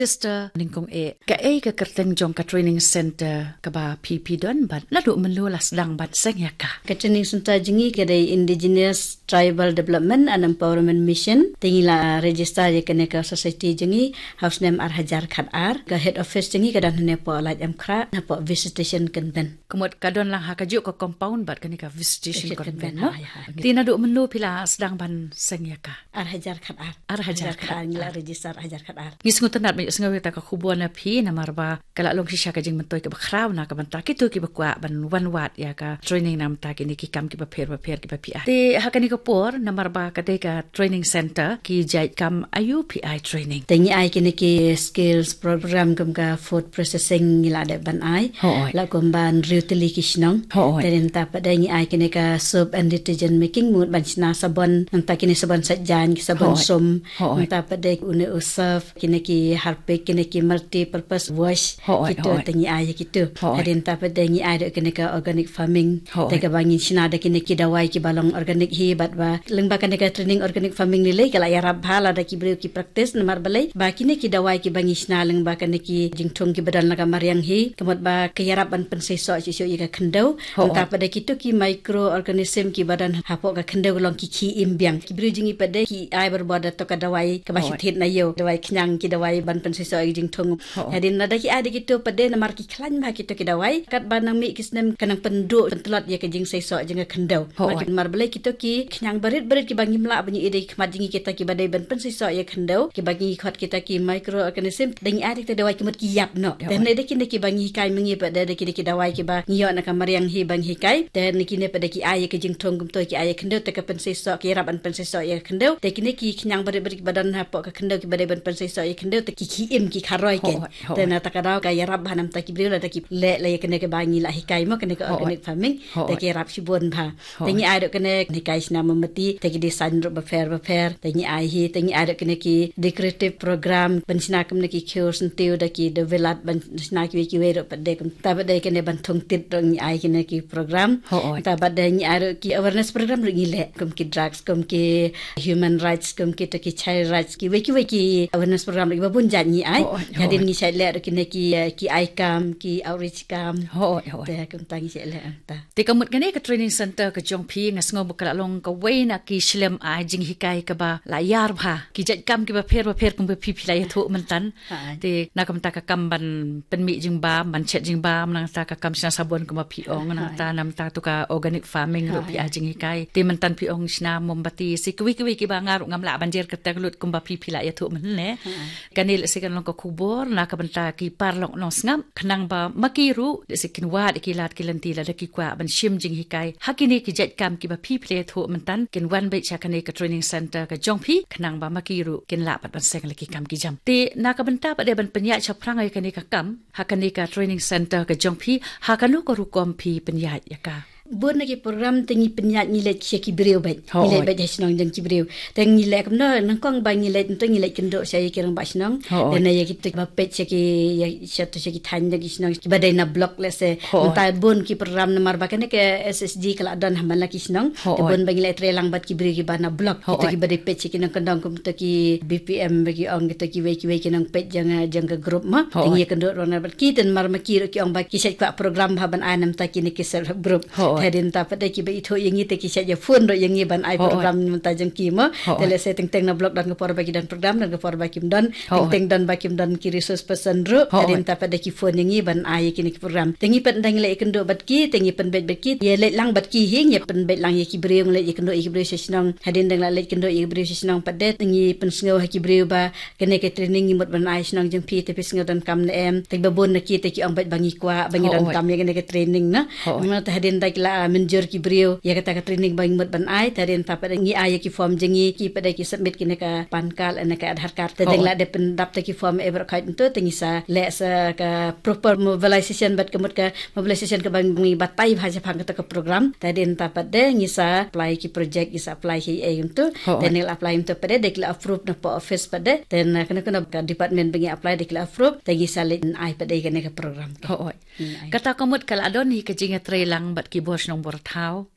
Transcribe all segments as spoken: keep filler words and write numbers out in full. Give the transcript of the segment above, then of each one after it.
Sister Nyngkong E, kaei ka kyrteng jong ka training center kaba phi phi don bad naduh mynno la sdang ban seng ïa ka? Ka training center jong ngi ka dei Indigenous Tribal Development and Empowerment Mission. Te ngi la register ïa kane ka society jong ngi ha u snem ar hajar khat ar. Ka head office jong ngi ka don hangne hapoh Laitumkhrah, hapoh Visitation Convent. Ka mut ka don lang ha kajuh ka compound bad kane ka Visitation Convent, no? Te naduh mynno phi la sdang ban seng ïa ka? Ar hajar khat ar. Ar hajar khat ar ngi la register, ar hajar khat ar. Ngi sngewtynnad ba ïohsngew ïa kata ka khubor na phi, namar ba ka la long shisha ka jingmyntoi kaba khraw na ka bynta kito kiba kwah ban wan wad ïa ka training na bynta kine ki kam kiba pher bapher kiba phi ai. Te ha kane ka por, namar ba ka dei ka training center, ki jait kam aïu phi ai training? Te ngi ai kine ki skills program kum ka food processing ngi la dep ban ai. Hooid. La kum ban riew tylli ki shnong. Hooid. Te nangta pat de ngi ai kine ka soap and detergent making, mut ban shna sabon, nangta kine sabon sait jaiñ, ki sabon sum. Hooid. Nangta pat de une u surf, kine ki Harpic, kine ki multi purpose wash. Hooid, kito hooid. Te ngi ai kito. Hooid. Te nangta pat de ngi ai ruh kine ka organic farming. Hooid. Te kaba ngin shna da kine ki dawai kiba long organic hi, bad ba lyngba kane ka training organic farming lei lei ka la ïarap bha lada ki briew ki practice, namar balei ba kine ki dawai kiba ngi shna lyngba kane ki jingthung kiba don la ka mariang hi, ka mut ba ka ïarap ban pynseisoh shuh shuh ïa ka khyndew. Hooid. Nangta pat de kito ki microorganism kiba don hapoh ka khyndew ka long ki khie im biang. Ki briew jong ngi pat de ki ai barabor da kato ka dawai kaba shu thied na ïew, dawai khñiang, ki dawai ban pynseisoh ïa ka jingthung. Hooid. Hadien lada ki ai da kito pat de namar ki khlaiñ bha kito ki dawai, katba nang mih ki snem ka nang pynduh pyntlot ïa ka jingseisoh jong ka khyndew. Hooid. Namar balei kito ki khñiang barit barit kiba ngim lah ban ïohi da ki khmat jong ngi, kita kiba dei ban pynseisoh ïa ka khyndew, kiba ngi khot kita ki microorganism, da ngi ai da kita dawai ki mut ki ïap noh. Hooid. Te hynrei da kine kiba ngi hikai ma ngi pat de, da kine ki dawai kiba ngi ïoh na ka mariang hi ba ngi hikai. Te na kine pat de ki ai ïa ka jingthung kumto, ki ai ïa ka khyndew, te ka pynseisoh, ki ïarap ban pynseisoh ïa ka khyndew. Te kine ki khñiang barit barit kiba don hapoh ka khyndew kiba dei ban pynseisoh ïa ka khyndew, te ki khie im, ki kharoi kein. Hooid, hooid. Te na kata ka daw ka ïarap bha namar ki briew lada ki leh la ïa kane kaba ngi la hikai mo, kane ka organic farming. Hooid. Te ki ïarap shibun bha. Te ngi ai ruh kane, kane ka shna mombati, te ki design ruh bapher bapher, te ngi ai hi, te ngi ai ruh kane ki decorative program, ban shna kumne ki khiew syntiew da ki dewbilat, ban shna kiwei kiwei ruh pat de kum. Nangta pat de kane ban thung tit ruh ngi ai kine ki program. Hooid. Nangta pat de ngi ai ruh ki awareness program ruh ngi leh, kum ki drugs, kum ki human rights, kum kita ki child rights, kiwei kiwei ki awareness program ruh kiba bun jait ngi ai. Hooid, hooid. Hadien ngi shait leh ruh kine ki, eh, ki ai kam, ki outreach kam. Hooid, hooid. Te kumta ngi shait leh nangta. Te ka mut kane ka training center ka jong phi nga sngew ba ka la long kawei na ki shlem ai jinghikai kaba la ïar bha. Ki jait kam kiba pher bapher kumba phi phi la ïathuh mynta. Hooid. Te na ka bynta ka kam ban pynmih jingbam, ban chet jingbam, nangta ka kam shna sabon kumba phi ong, hooid, nangta na bynta tu ka organic farming ruh phi ai jinghikai. Te mynta phi ong shna mombati, shi kiwei kiwei kiba nga ruh ngam lah ban jer kyrteng lut kumba phi phi la ïathuh mynne. Hooid. Kane lehse kan long ka khubor na ka bynta ki paralok nongsngap, khnang ba ma ki ruh lehse kin wad ïa ki lad ki lynti lada ki kwah ban shim jinghikai ha kine ki jait kam kiba phi phi la ïathuh mynta, kin wan beit sha kane ka training center ka jong phi, khnang ba ma ki ruh kin lah pat ban seng la ki kam ki jam. Te na ka bynta pat de ban pynïaid shaphrang ïa kane ka kam ha kane ka training center ka jong phi, ha kano ka rukom phi pynïaid ïa ka? Bun na ki program te ngi pynïaid, ngi leit sha ki briew beit. Hooid. Ngi leit beit ha shnong jong ki briew. Te ngi leh kumno, nyngkong ba ngi leit, nangta ngi leit kynduh sha ïa ki rangbah shnong. Hooid. Te na ïa kito ba peit sha ki, ïa, sha to sha ki thaiñ jong ki shnong kiba dei na block lehse. Hooid. Nangta bun ki program namar ba kane ka S S G ka la don ha man la ki shnong. Hooid. Te bun ba ngi leit trei lang bad ki briew kiba na block. Hooid. Kito kiba dei peit sha ki nongkyndong kum to ki B P M ba ki ong, kito kiwei kiwei ki nongpeit jong, jong ka group mo. Hooid. Te ngi ïakynduh ruh na bad ki, te namar ma ki ruh ki ong ba ki shait kwah program bha ban ai na bynta kine ki self help group. Hooid. Te hadien nangta pat de kiba ithuh ïa ngi te ki shait ïa phone ruh ïa ngi ban ai, hooid, program na bynta jong ki mo. Hooid. Te lehse teng teng na block don ka por ba ki don program, don ka por ba kim don. Hooid. Teng teng don ba kim don ki resource person ruh. Hooid. Hadien nangta pat de ki phone ïa ngi ban ai ïa kine ki program. Te ngi pat ynda ngi leit ïakynduh bad ki, te ngi pynbeit bad ki, ïa leit lang bad ki hi, ngi pynbeit lang ïa ki briew, ngi leit ïakynduh ïa ki briew sha shnong. Hadien nangta leit kynduh ïa ki briew sha shnong pat de, te ngi pynsngew ha ki briew ba kane ka training ngi mut ban ai shnong jong phi, te phi sngew donkam ne em. Te ba bun na ki te ki ong beit ba ngi kwah, ba ngi, hooid, donkam ïa kane ka training na. Hooid. Namar te hadien da ki la mynjur ki briew ïa kata ka training ba ngi mut ban ai, te hadien nangta pat de ngi ai ïa ki form jong ngi, ki pat de ki submit kine ka PAN card ne ka Aadhaar card. Te, hooid, dang la dep pyndap te ki form e baroh khoit, nangta te ngi sa leh sa ka proper mobilization bad ka mut ka mobilization kaba ngi batai bha shaphang kata ka program. Te hadien nangta pat de ngi sa apply ki project, ngi sa apply ki ei kumto. Hooid. Te ngi la apply kumto pat de, de ki la approve na post office pat de. Te na kano kano ka department ba ngi apply de ki la approve. Te ngi sa leit ai pat de kane ka program. Hooid. Ngi ai. Kata ka mut ka la don hi ka jingïatreilang bad ki bor shnong bor thaw,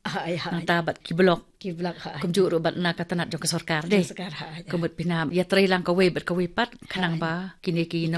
nangta bad ki block, kumjuh ruh bad na ka tnat jong ka sorkar de. Ka mut pynam ïatrei lang kawei bad kawei pat khnang ba kine ki nong